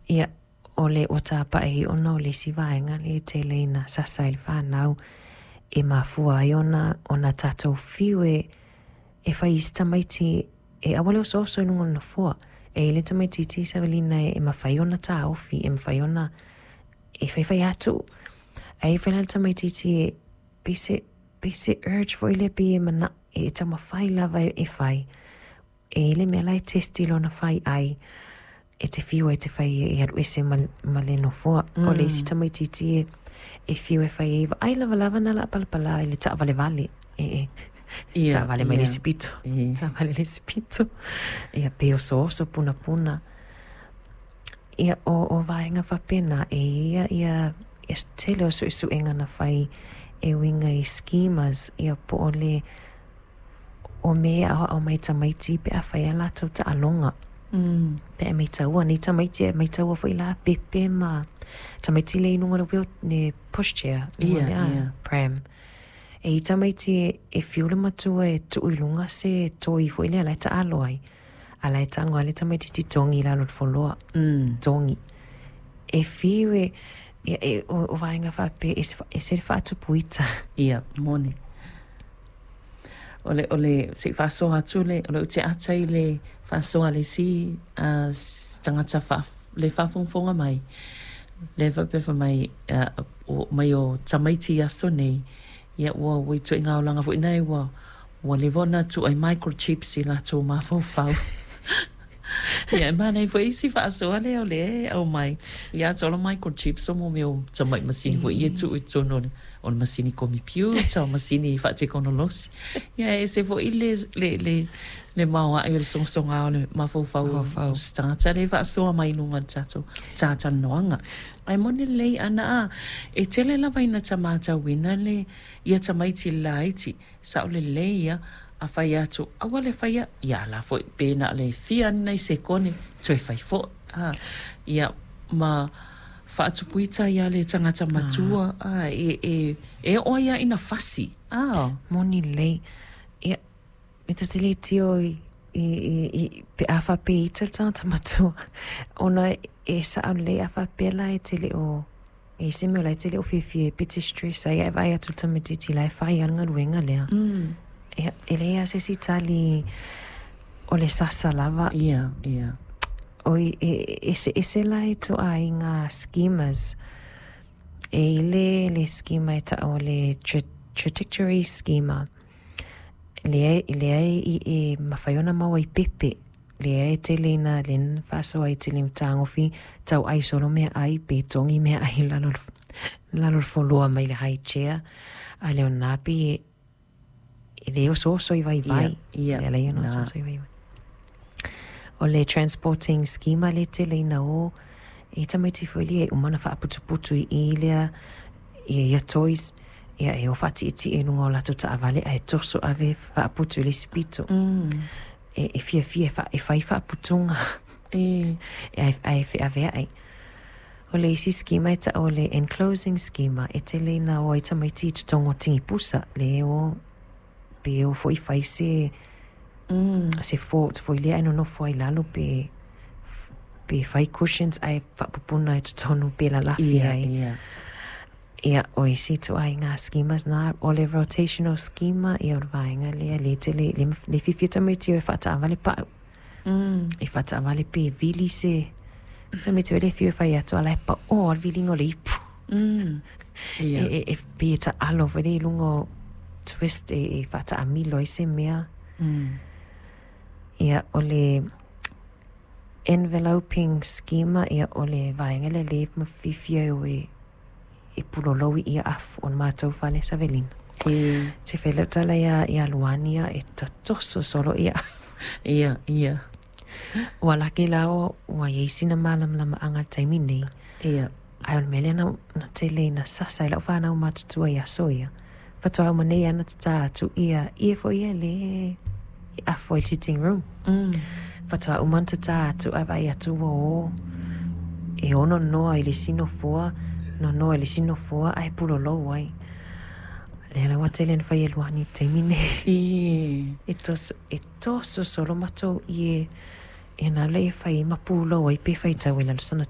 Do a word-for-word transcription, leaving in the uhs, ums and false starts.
Ia, o le ua tapaʻi ona o le isi vaega lea e tele ina sasa ai le fanau e mafua ai ona ona tatou fiu e e fai i isi tamaiti e aua le osooso i luga o le nofoa. E i ai le tamaitiiti Savelina e mafai ona taofi, e mafai ona e faifai atu. Ae i ai foi la le tamaitiiti e pei se pei se urge foi lea pei e mana e taumafai lava e fai. E i ai le mea la e test i lona faiai e te fiu ai e te fai e alu ese ma, ma le nofoa. Mm. O le isi tamaitiiti e, e fiu e fai ai, vaai lavalava na laa palapala i le taavalevale. E, e Ia, taavale mai le ia. isi pito, E. taavale le isi pito. Ia pe osooso punapuna. Ia o, o vaega faapena e ia ia ia tele o suesuega na fai e uiga i schemas ia po o le o mea e aoao mai tamaiti pe a fai a latou taaloga. Mm. Pe a maitaua nei tamaiti e maitaua foi la pepe ma tamaiti le i luga o le wheel, le pushchair, luga Ia, lea ia. pram. E i tamaiti e, e fiu le matua e tuu i luga se toi foi lea la e taalo ai. A la e tago lava le tamaitiiti togi i lalo o le foloa. Mm. Togi. E fiu e, e, e o, o vaega faapea e, e se le faatupuita. Ia, moni. O le, o le, se i faasoa atu le, o le ute ata i le faasoa a le isi uh, tagata faa, le faafogafoga mai. Le faapea fai mai, uh, o, mai o tamaiti i aso nei, ia ua ua ituaiga olaga foi nae ua ua leva ona tuu ai microchips i latou mafaufau. Ia e manaia foi isi faasoa lea o lea e aumai. Ia atoa o microchips o mo mea o tamai masini foi ia e tuu i totonu o le o le masini komipiuta, o masini faatekonolosi. Ia e ese foi le le le le maoae o le sogasoga o le mafaufau Mafaufau. o se tagata lea e faasoa mai i luga o le tatou talatalanoaga. Ae moni lelei ana a e tele lava ina ta matauina le ia tamaiti laiti sao lelei ia a fai atu aua le faia ia la foi pe na le fia nei sekone toe fai foi a ia ma faatupuita ia le tagata matua a e e e oo ai ia ina fasi a. Moni lelei. Ia, e ta te le tio i, i, i, i pe a faapea ita le tagata matua. Ona e sao lelei a faapea la e te le o e se mea o la e te le o fiafia e pe te stress ai e vaai atu le tamaitiiti la e fai lava le galuega lea. Mm. Ia, e leai lava se isi tali o le sasa lava. Ia, ia. Oi, e, eseese la e ituaiga schemas. E i le le schema e taua o le tra trajectory schema. Lea, lea e, e mafai ona maua i pepe. Lea e tele ina le na faasoa ai tele matagofi tau ai solo mea ai pe togi mea ai lalo lalo le foloa mai le high chair. A leo na pe e, e le osooso i Ia, vaivai. ia. Le leai ona Na. osooso i vaivai. O le transporting schema le tele ina o e tamaiti foi lea e uma ona faaputuputu i i lea ia ia toys ia e o faatietie i luga o latou taavale ae toso ave faaputu i le isi pito. Mm. E, e fiafia e, fa, e fai faaputuga E. e ae feaveai. O le isi schema e taua o le enclosing schema e tele ina o ai tamaiti i totonu o tigipusa le o pe o foi fai se Mm. se fort foi lea e nonofo ai lalo pe pe fai cushions ae faapupuna i totonu pe lalafi Ia, ai. ia. Ia, o isi ituaiga schemas na, o le rotational schema, ia o le vaega lea, le tele, le, le fiafia tamaiti o e faataavale pau. Mm. E faataavale pe vili se, tamaiti o le fiu e fai atu, ala e pa o le viliga o le ipu. Mm. E, Ia. e, e pe taalo foi lea i luga o twist e, e faataamilo ai se mea. Mm. Ia, o le enveloping schema, ia o le vaega lea le mafifia e o e e pulolou i ia afu o le matou fale Savelina. E. Te fai lau tala ia, ia Luani ia e tatoso solo ia. Ia, ia. Ua laki la o, ua iai sina malamalamaaga i le taimi nei. Ia. Ae o le mea lea na, na tele ina sasa i lau fanau matutua i aso ia. Faatoa uma nei ana tatā atu ia, ia foi ia le e afu ai i le sitting room. Mm. Faatoa uma ona tatā atu ae vaai atu ua o e ono noa i le isi nofoa, nonoa i le isi nofoa ae pulolou ai. Lea la ua tele na fai e Luani i le taimi nei. E. E toso, e toso solo matou i e, e nā lea e fai ma pulou ai pe faitau i lalo sana